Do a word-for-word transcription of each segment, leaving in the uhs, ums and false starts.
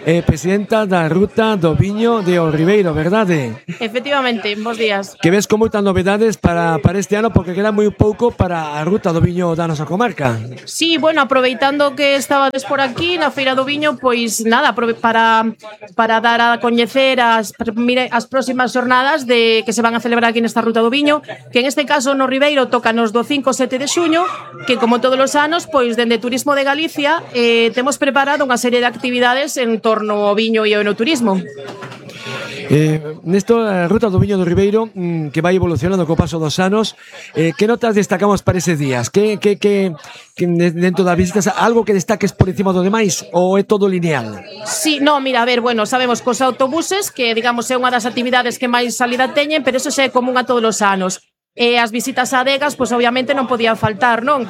eh, presidenta da Ruta do Viño de O Ribeiro, verdade? Efectivamente, bons días. Que ves con moitas novedades para, para este ano, porque queda moi pouco para a Ruta do Viño da nosa comarca. Sí, bueno, aproveitando que estabades por aquí na Feira do Viño, pois nada, para, para dar a coñecer as, mire, as próximas xornadas de que se van a celebrar aquí nesta Ruta do Viño, que en este caso no Ribeiro tócanos do cinco ao sete de xuño, que como todos os anos, pois dende Turismo de Galicia eh, temos preparado unha serie de actividades en torno ao viño e ao enoturismo. Eh, nesto, a Ruta do Viño do Ribeiro, mmm, que vai evolucionando co paso dos anos, eh, que notas destacamos para eses días? Que, que, que, que dentro das visitas, algo que destaques por encima do demais ou é todo lineal? Sí, no, mira, a ver, bueno, sabemos cos autobuses, que digamos é unha das actividades que máis salida teñen, pero eso xa é común a todos os anos. E as visitas a adegas, pois obviamente non podían faltar, non?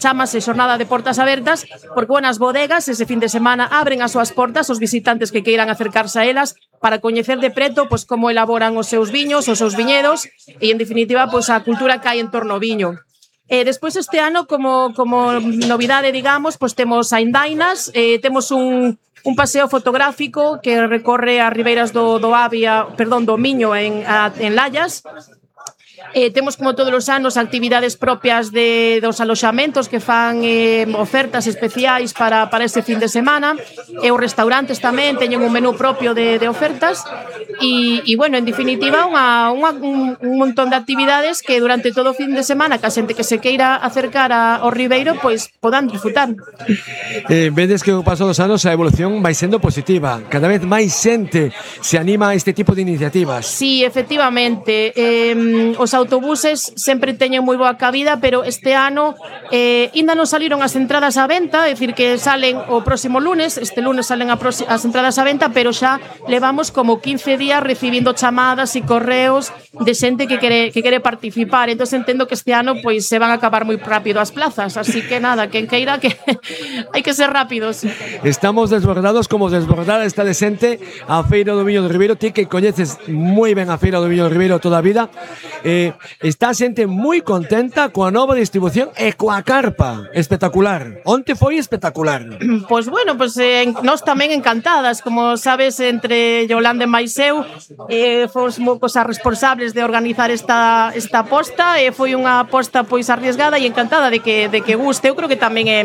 Chámase xornada de portas abertas, porque, bueno, as bodegas ese fin de semana abren as súas portas aos visitantes que queiran acercarse a elas para coñecer de preto pois como elaboran os seus viños, os seus viñedos e, en definitiva, pois a cultura que hai en torno ao viño. E despois este ano, como, como novidade, digamos, pois temos a Indainas, eh, temos un un paseo fotográfico que recorre as ribeiras do, do Avia, perdón, do Miño en, a, en Lallas. Eh, temos como todos os anos actividades propias de, dos aloxamentos que fan eh, ofertas especiais para, para ese fin de semana, e os restaurantes tamén teñen un menú propio de, de ofertas e, e bueno, en definitiva unha, unha, un, un montón de actividades que durante todo o fin de semana que a xente que se queira acercar a, ao Ribeiro pois podan disfrutar. Eh, vedes que o paso dos anos a evolución vai sendo positiva, cada vez máis xente se anima a este tipo de iniciativas. Sí, efectivamente, eh, os autobuses sempre teñen moi boa cabida, pero este ano eh, ainda non saliron as entradas á venta, é dicir que salen o próximo lunes, este lunes salen a as entradas á venta, pero xa levamos como quince días recibindo chamadas e correos de xente que quere, que quere participar, entón entendo que este ano pois se van a acabar moi rápido as plazas, así que nada, quen queira que hai que ser rápidos. Estamos desbordados como desbordada está de xente a Feira do Viño do Ribeiro, ti que coñeces moi ben a Feira do Viño do Ribeiro toda a vida. Eh, está a xente moi contenta coa nova distribución e coa carpa, espectacular. Onte foi espectacular. Pois bueno, pois eh, nós tamén encantadas, como sabes, entre Yolanda e máis eu, eh, fomos cosas responsables de organizar esta esta aposta, e eh, foi unha aposta pois arriesgada e encantada de que de que guste. Eu creo que tamén é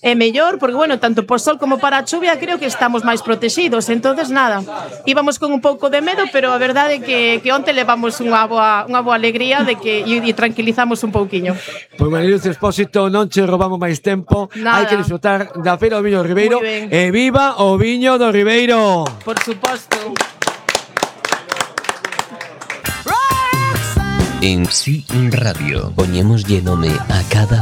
é mellor, porque bueno, tanto por sol como para a chuvia creo que estamos máis protegidos. Entonces nada, íbamos con un pouco de medo, pero a verdade é que que onte levamos unha boa unha boa alegría de que e, e tranquilizamos un pouquiño. Pois, María Luz Expósito, non che robamos máis tempo. Hai que disfrutar da Feira do Viño do Ribeiro. E viva o Viño do Ribeiro. Por suposto. En Sí Radio poñémoslle nome a cada